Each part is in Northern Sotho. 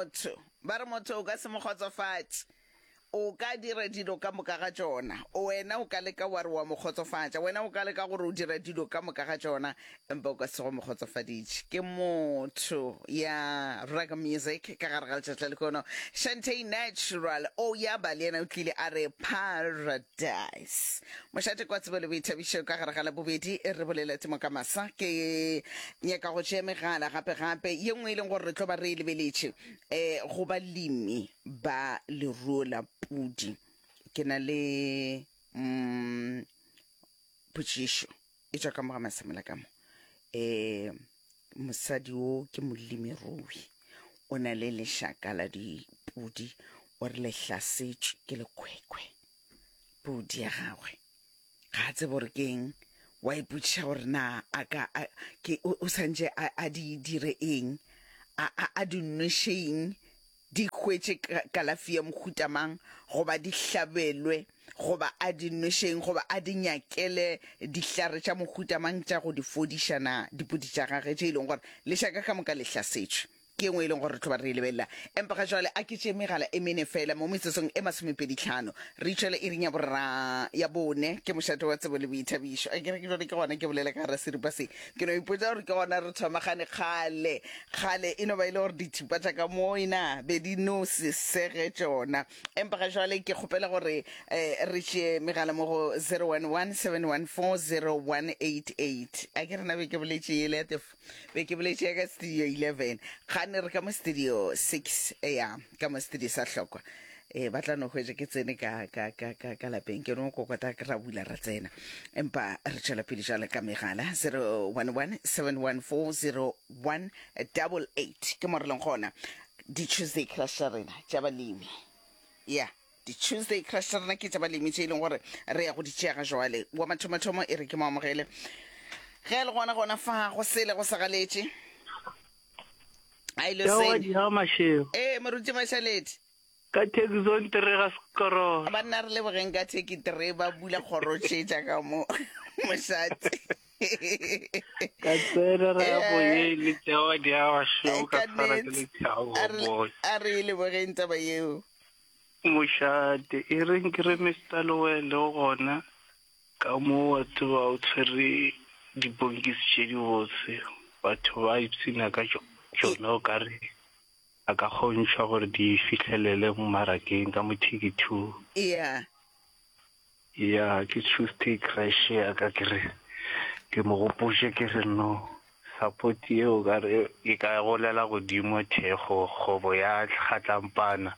Motho, ba re motho o ka se mo kgotsofatše. O ka dira dilo ka moka ga tšona. Wena o ka leka wa re wa mo kgotsofatša. Wena o ka leka gore o dira dilo ka moka ga tšona, empa o ka se go mo kgotsofaditše. Ke motho ya Ragga Music ka gare ga letšatši la lehono. Shantay Natural o ya ba le yena o tlile a re Paradise. Mošate kwa tsebo le boithabišo ka gare ga Labobedi re bolela temo ka masa. Ke nyaka go tšea megala gape gape ye nngwe e leng gore re tlo ba re e lebeletše um go balemi ba leruo la pudi. Ke na le mm, potšišo e tšwa ka mo ga Masemola ka mo. Um mosadi wo ke molemirui, o na le lešaka la dipudi, o re le hlasetšwe ke lekhwekhwe pudi ya gagwe. Ga a tsebe gore ke eng, wa ipotšiša gore na a ka a, ke o, o santše a, a di dire eng, a, a, a di nweše eng, di hwetše ka, kalafi ya mohuta mang, goba di hlabelwe, goba a di nweše eng, goba a di nyakele dihlare tša mohuta mang tša go di fodiša na dipudi tša gage tše e leng gore lešaka ka moka le hlasetšwe. Ke ye nngwe e leng gore re tlo ba re e lebelela. Empa ga jwale a ke tšee megala e mene fela mo metsotsong e masomepeditlhano. Re itšwele iring ya borra ya bone. Ke mošate wa tsebo le boithabišo. A ke re ke jwale ke gona ke bolela ka gara seripa se. Ke no ipotša gore ke gona re thomagane kgale. Kgale e no ba e le gore dithupa tša ka mo e na be di no se sege tšona. Empa ga jwale ke kgopela gore eh, re tšee megala mo go 011 714 0188. A ke re na be ke boletše yele ya tefo. Be ke boletše ya ka studio 11 gane re ka mo studio 6 ya ka mo studio sa hlokwa e ba tla no hwetša ke tsene ka ka ka ka ka lapeng ke no kokota ke ra bula ra tsena empa re tšwela pele jale ka megala 011 714 0188 ke mo re leng gona di Tuesday crush tša rena tša balemi ya Di-Tuesday crush tša rena ke tša balemi tše e leng gore re ya go di tšea ga jwale. Wa mathomathomo e re ke mo amogele ge a le gona gona fa go sele go sa galetše. A ile seng. Ee, moruti Mashaledi. Ka Taxon tere ga sekorolo. Banna re lebogeng ka theki tere ba bula kgoro tše tša ka mo mošate. Ka tsena ra ya boyeng le tšewa di a bašweu ka tshwara ke lethabo boy. A re lebogeng taba yeo. Mošate, e reng ke re Mister Lewele o gona ka mo wa tseba o tshwere diponkisi tše dibotse, batho ba ipshina ka tšona o ka re a ka kgontšhwa gore di fihlelele mmarakeng ka mo Ticket-two. Yeah. Ya ke Tuesday crash ya ka ke re ke mo gopotše ke re no support yeo ka re e ka golela godimo thekgo kgobo ya kgatlampana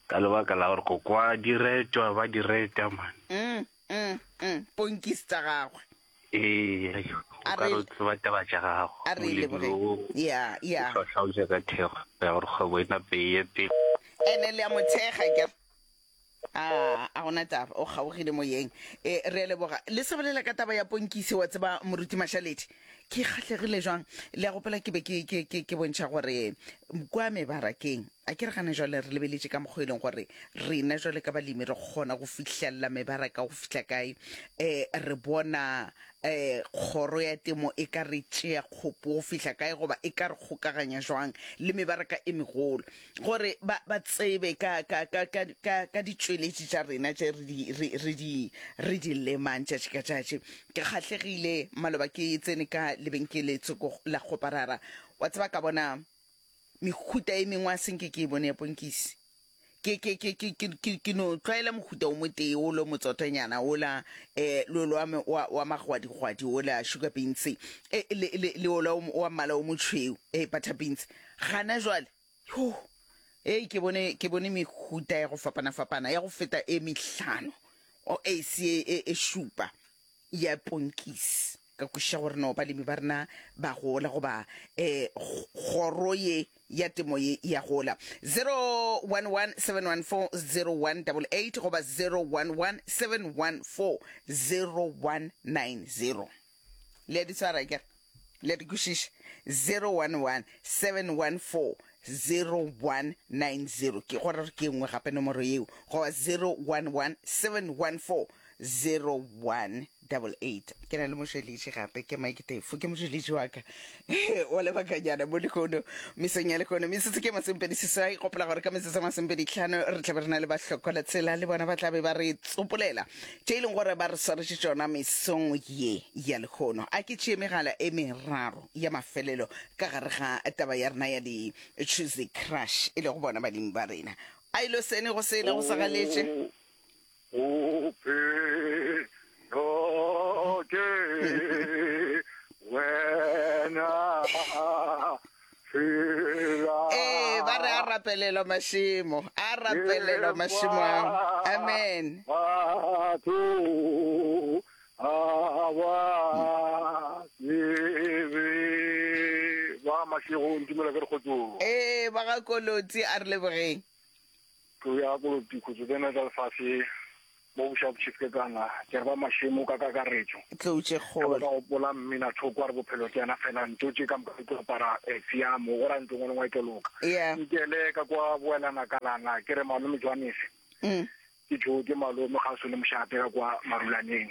ka lebaka la gore ko kwa di retwa ba di reta man. Mm, mm, mm, ponkisi tša gagwe. Ee, o ka re o tseba taba tša gago. A re leboge. Ya, ya. O hlwahlwa ka thekgo ya gore kgwebo e nape e ye pele. Ene le a mo thekga ke. A, a gona taba, o kgaogile moyeng. E, re a leboga. Le sa bolela ka taba ya ponkisi, wa tseba, Moruti Mashaledi, ke kgahlegile jwang. Le a gopola ke be ke, ke, ke, ke bontšha gore kwa mebarakeng, a ke re gana jwale re lebeletše ka mokgwa e leng gore rena jwale ka balemi re kgona go fihlelela mebaraka go fihla kae. E, re bona e, kgoro ya temo e ka re tšea kgopo go fihla kae goba e ka re kgokaganya jwang le mebaraka e megolo. Gore ba, ba tsebe ka, ka, ka, ka, ka, ka ditšweletši tša rena tše re di, re, re di, re di lemang tšatši ka tšatši. Ke kgahlegile, maloba ke tsene ka lebenkele tsoko la kgoparara, wa tseba, ka bona mehuta e mengwe a senke ke e bone ya ponkisi. Ke, ke, ke, ke, ke, ke, ke no tlwaela mohuta o motee o lo motsotonyana ola, eh, le ola wa, wa, wa magwadigwadi ola, sugar beans, eh, le, le, le ola o, wa mmala o motšhweu, eh, butter beans. Gana jwale, Yo! Hei, ke bone, ke bone mehuta ya go fapana-fapana ya go feta e mehlano, o e se e, e, e šupa ya ponkisi. Ka kwešiša gore no balemi ba rena ba gola goba eh, kgoro ye ya temo ye ya gola. 0117140188 goba 0117140190. Le a di tshwara akere? Le a di kwešiša? 011 714 0190 ke gore ke nngwe gape nomoro yeo goba 011 714 0188. Ke na le mošweletši gape, ke Mike Tefo, ke mošweletši wa ka wa lebakanyana mo lehono, mesong ya lehono. Metsotso ke masomepedi seswai, gopola gore ka metsotso masomepedi tlhano re tla be re na le bahlokola tsela, le bona ba tla be ba re tsopolela tše e leng gore ba re swaretše tšona mesong ye ya lehono. A ke tšee megala e meraro ya mafelelo ka gare ga taba ya rena ya di Choose Crush, e lego bona balemi ba rena. A ilo sene go sele go sa galetše. Bophelo ke wena fela. Ee, ba re a rapelelwa mašemo, a rapelelwa mašemo ao. Amen. Batho ga ba tsebe ba mašego ntumela ke re kgotsong. Ee, ba ga Kolotsi a re lebogeng. Tlou ya Koloti khutso tsena tša lefase mo bošago Chief Kekana ke re ba mašemo ka kakaretšo. Tlou tše Ge ba kgolo. ka gopola mmina thoko a re bophelo ke yena fela ntho tše ka moka di tlo apara tshiamo go ra ntho ngwe le ngwe e tlo loka. Yeah. Nkele ka kwa boelana kalana ke re malome Johannes ke tšo ke malome kgauswi le mošate ka kwa Marulaneng.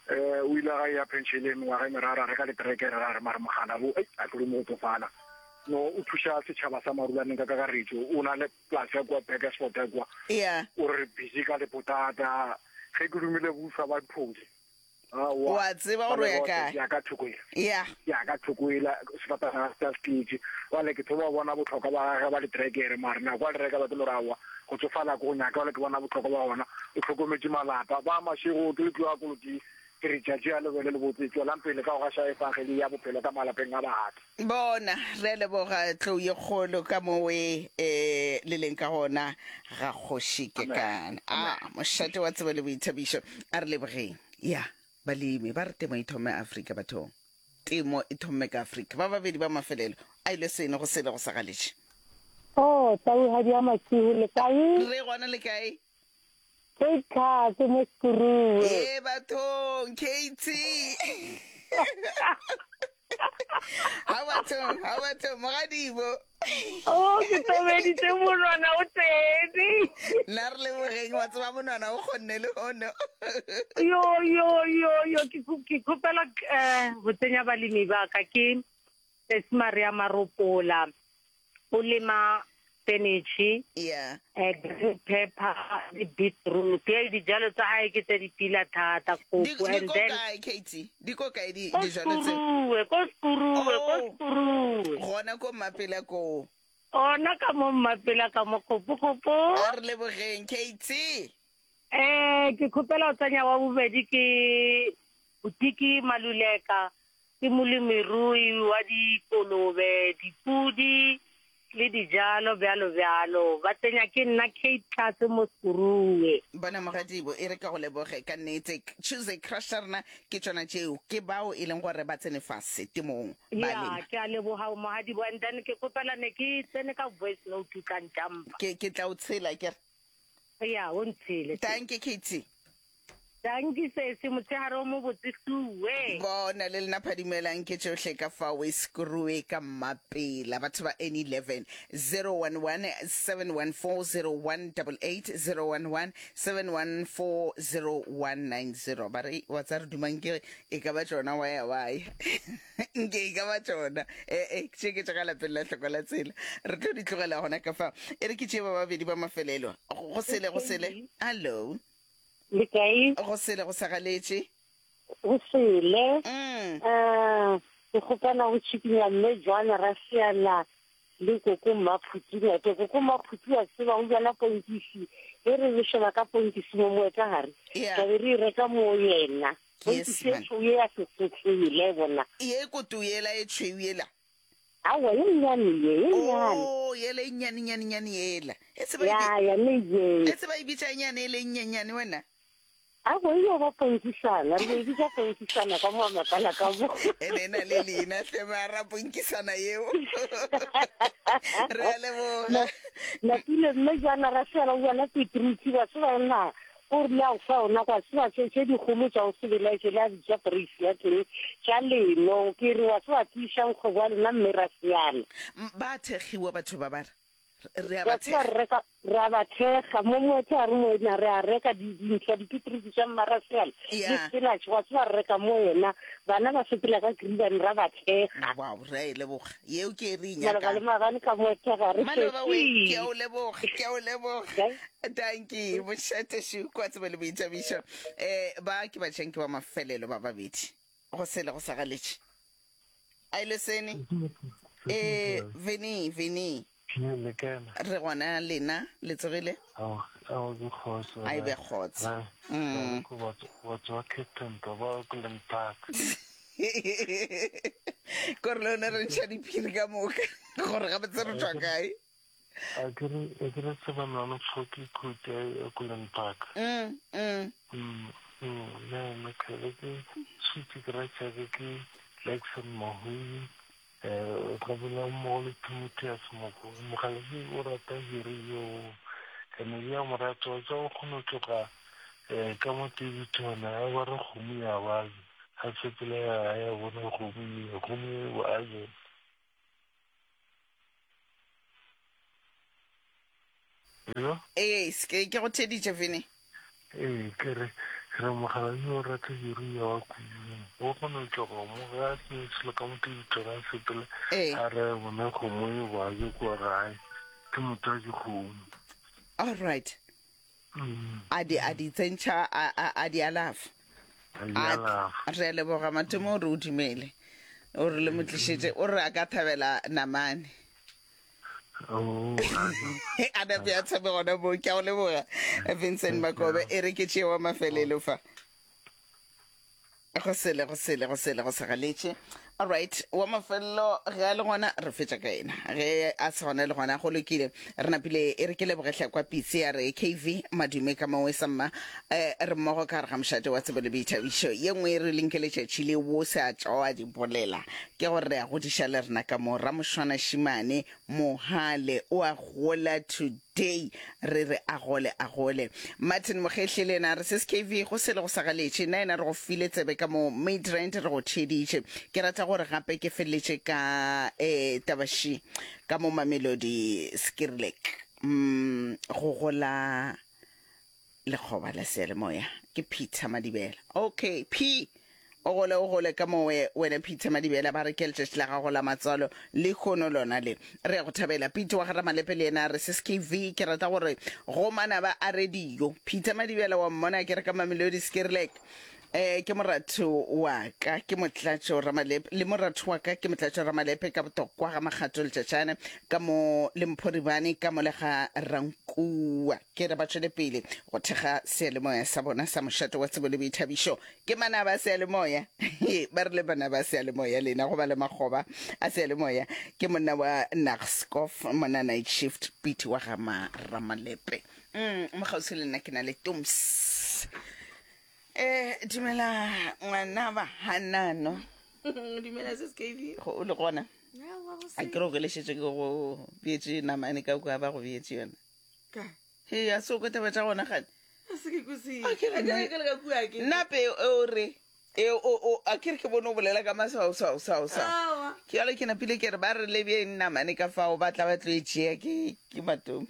Eh o ile ga ya penšeleng mengwaga e meraro a reka letrekere ra re mare mogala bo ei a tlo mo go tsofala. No o thuša setšhaba sa Marulaneng ka kakaretšo o na le polase ya kua Burgersfort ya kua. Yeah. O re busy ka lepotata. Ge ke romile busa ba diphodi. Aowa. Wa tseba gore o ya kae. Ke ya ka thoko ela. Yeah. Ke ya ka thoko ela sefatanaga se se tletše. Bjale ke thoma go bona bohlokwa ba gage ba ditrekere mare nako a di reka ba ke no re aowa go tsofala ke go nyaka bjale ke bona bohlokwa ba gona. O hlokometše malapa. Ba Mashego ke le tloga Koloti ke re tšatši a le be le lebotse tšwelang pele ka go gaša efangeli ya bophelo ka malapeng a batho. Bona, re a leboga tlou ye kgolo ka mo e e le leng ka gona ga Kgoši Kekana. A mošate wa tsebo le boithabišo. A re lebogeng. Ya, balemi ba re temo e thome Afrika bathong. Temo e thomme ka Afrika. Ba babedi ba mafelelo a ile seno go sele go sa galetše. Oh, tauhadi ya masihu le kae? Re gona le kae? Kate Tlhatse mo Sekuruwe. Ee bathong, Katie. Ha bathong, ha bathong, mogadibo. Oh, ke tobeditse monwana o tsene. Nna re lebogeng wa tseba monwana o kgonne le hono. Yo yo yo yo ke ke khopela eh go tsenya balemi ba ka ke Sesi Maria Maropola. O lema spinach, Yeah. eh, green pepper le beetroot. Ee, dijalo tsa gae ke tse di pila thata, Di kgopo. di And ko then kae Katie? Di ko kae di ko dijalo tseo? Sekuruwe, ko Sekuruwe, ko Oh, Sekuruwe. gona ko Mmapela koo. Ona ka mo Mmapela ka mo kgopo kgopo. A re lebogeng Katie. Eh, ke kgopela go tsenya wa bobedi ke Botiki Maluleka. Ke molemirui wa dikolobe, dipudi le dijalo bjalo bjalo. Ba tsenya ke nna Kate Tlase mo Sekuruwe. Bona mogadibo, e re ka go leboge ka nnete. Choose a crush tša rena ke tšona tšeo, ke bao e leng gore ba tsene fase temong ba Ya, lema. ke a leboga mogadibo and then ke kgopela ne ke tsene ka voice note o tla ntampa. Ke, ke tla o tshela ke re. Ya, o ntshele. Dankie Katie. Dankie sesi, motshehare o mobotse suwe. Bona le lena phadimelang ke tšohle ka fao e screwe ka mmapela batho ba N11 011 714 0188 011 714 0190 ba re wa tsa re dumang ke e ka ba tšona waya waya nke e ka ba tšona ee tše ke tša ka lapeng la hloko la tsela re tlo di tlogela gona ka fa e re ke tšee ba babedi ba mafelelo go sele go sele hallo Le kae? Go sele go sa galetše. Go sele. Um ke kgopela go tšhikinya mme Joan Rasiana le koko Mmaphuti Ngwete. Koko Mmaphuti wa tseba o bjala ponkisi e re re sheba ka ponkisi mo moetagare. Yeah. Tla be re e reka mo yena. Yes, Ponkisi e man. tšhweu ye ya sefotlele bona. Ye koto yela e tšhweu yela. Aowa, ye nnyane ye, ye nnyane. Oh, yela e nnyane nnyane nnyane yela. E se ba e Ya, ya ne ye. E se ba e bitša nyane e le nnyenyane wena. Aowa, e yo ba ponkisana, re be e bitša ponkisana ka mo makala ka mo. Ene e na le leina hle mara ponkisana yeo. Re a leboga. Napile mme jaana ra sela o bona Petrucci ba se ba na O rile a fa ona gwa tseba tše, tše dikgolo tša go se belaetše le a bitša poreisi ya teng, tša leno. Ke re, wa tseba, tiišang kgwebo ya lena mme ra seana. Ba thekgiwa batho ba ba re. Re a ba Wa tseba thekga. re reka re a ba thekga mo moethe a re mo ena re a reka di dintlha dipitrisi tša mmarasel le Ya. spinach wa tseba re reka mo yena bana ba sepela ka gribane ra ba thekga. Wow, re a e leboga. Yeo ke e re e Maloba le nyakang. maabane ka moethe ga re Maloba we, ke fetše. a o leboga, ke a o leboga. Kae? Dankie, mošate šu kwa tsebo le boithabišo. Eh, ba ke batšhanki ba mafelelo ba babedi. Go sele go sa galetše. A ile sene? Eh, Vini, Vini. Re gona lena, le tsogile? A e be kgotso. Mm. Kore le yone re ntšha diphiri ka moka gore gabotse re tšwa kae. A ke re a ke re tseba nwana tlhoki khute ya Kulen Park. Mm, mm. Mm, mm, ne ne ke ke switse ke ra tšhake ke Jackson Mahui eh ga bola mo le Timotheus Moko mogaledi o rata hiri yo ene ya morato wa tsa o kgona tloga eh ka mo Daveyton a ba re kgomo ya ba a sepela ya ya bona kgomo ye kgomo ye ba je Hello? Ee, ke ke go theditše Vini. Ee, ke re ke re mogala yo o rata diruiwa wa kudu. O kgona go tloga mo ga a tsene selo ka mo tebitong a sepele Ee. a re bona kgomo e boaje kua gae. Ke motho wa dikgomo. All right. A di a di tsentšha a a a di alafa. A di alafa. Re a leboga Matome o re o dumele. O re le mo tlišetše o re a ka thabela namane. Oh, a nape a tshabe gona moo. Ke a go leboga Vincent Makobe. E re ke tšee wa mafelelo fa. Go sele, go sele, go sele, go sa galetše. Alright, wa mafelelo ge a le gona re fetša ka yena. Ge a se gona le gona go lokile. Re napile e re ke lebogehle kwa Pitse ya re KV Madume ka mongwe sa mma eh, re mmogo ka gare ga mošate wa tsebo le boithabišo. Ye nngwe e re leng ke letšatši le wo se a tšwa di bolela ke gore re a godiša le rena ka mo Ramošwana Šimane Mohale o a gola today re re a gole a gole. Martin Mogehle le yena a re sis KV go sele go sa galetše nna yena re go file tsebe ka mo Midrand re go theeditše. Ke rata gore gape ke feleletše ka eh taba ši ka mo Mamelodi Skirlek mm go gola Lekgoba la seyalemoya ke Peter Madibela. Okay, P o gole o gole ka mowe wena Peter Madibela ba re ke letšatši la gago la matswalo lehono lona le. Re ya go thabela. Peter wa ga Ramalepe le yena a re sis KV ke rata gore go manaba a radio. Peter Madibela wa mmona ke re ka Mamelodi Skirlek. Eh ke moratho wa ka ke motlatšo Ramalepe le moratho wa ka ke motlatšo Ramalepe ka botokwa ga Makgato Letšatšane ka mo le Mphoribane ka mo le ga Rankua ke re ba tšwele pele go thekga seyalemoya sa bona sa mošate wa tsebo le boithabišo ke manaba a seyalemoya ba re le manaba a seyalemoya lena go ba le makgoba a seyalemoya ke monna wa Nagscof monna night shift Pete wa ga Ramalepe mm mo kgauswi le nna ke na le Toms Eh, dumela ngwana ba hanano. Dumela sis KB. Go o le gona. A ke re o gelešetše ke go beetše namane ka kua ba go beetše yona. Ka. He a se o kwa taba tša gona gane. A se ke kwesi. A ke re ke le ka kua ke. Nna pe o re e o o a ke re ke bone o bolela ka maswao swao swao swao. Aowa. Ke jalo ke napile ke re ba re lebjeng namane ka fao ba tla ba tlo e tšea ke ke matome.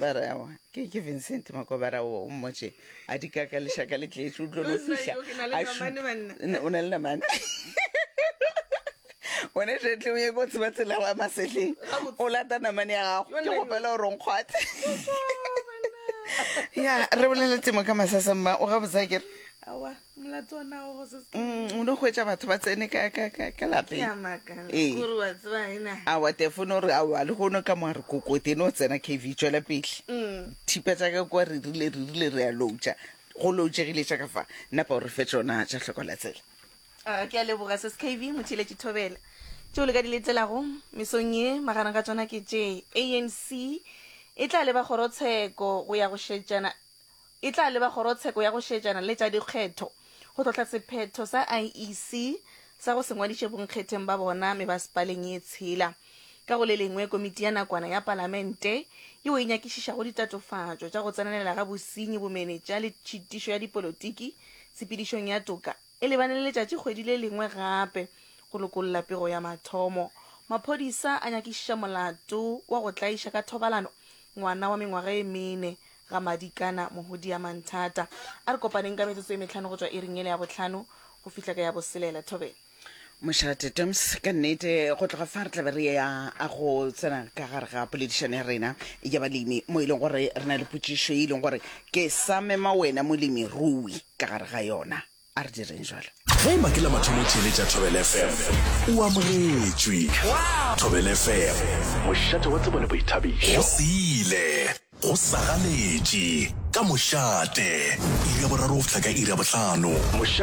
Ba re aowa, ke ke Vincent Makobara o o mmotše a di kaka lešaka le tletše o tlo no fihla Yo, ke na le a namane, banna. N- o na le namane wena jetle o ye ko tseba tsela wa masehleng Gabotse. o lata namane ya gago Yo, ke nna yo. gopela gore o nkgwathe ya re bolele temo ka masasa mma o gabotse a kere Aowa, molato ona o go se se. Mm, o no hwetša batho ba tsene ka ka ka ka Ke lapeng a makala. Ee. Kore wa tseba ena. awa tefone o re aowa lehono ka mo a re kokote no tsena kv tšwela pele Mm. thipa tša ka kua re rile re rile re a loutša go loutšegile tša ka fa napa o re fe tšona tša hloko la tsela A ke a leboga sis KV motheeletši Thobela. Tšeo le ka di letelago mesong ye magareng ga tšona ke tše, ANC e tla leba kgorotsheko go ya go šetšana E tla leba kgorotsheko ya go šetšana le tša dikgetho go hlohla sephetho sa IEC sa go se ngwadiše bonkgetheng ba bona mebasepaleng ye tshela. Ka go le lengwe, komiti ya nakwana ya palamente yeo e nyakišišago ditatofatšo tša go tsenelela ga bosenyi, bomenetša le tšhitišo ya dipolotiki tshepedišong ya toka e lebane le letšatšikgwedi le lengwe gape go lokolla pego ya mathomo. Maphodisa a nyakišiša molato wa go tlaiša ka thobalano ngwana wa mengwaga e mene ga Madikana Mohudia Manthata. A re kopaneng ka metsotso e mehlano go tšwa iring yela ya bohlano go fihla ka ya boselela. Thobela. Mošate Toms, ka nnete go tloga fa re tlabe re ya a go tsena ka gare ga poledišano ya rena ya balemi mo e leng gore re na le potšišo e leng gore ke sa mema wena molemi rui ka gare ga yona. A re direng jalo. Ge eba ke la mathomo o theeletša Thobela FM, o amogetšwe. Thobela FM, mošate wa tsebo le boithabišo. Go sile, go sa galetše, ka mošate, iri ya boraro go fihla ka iri ya bohlano.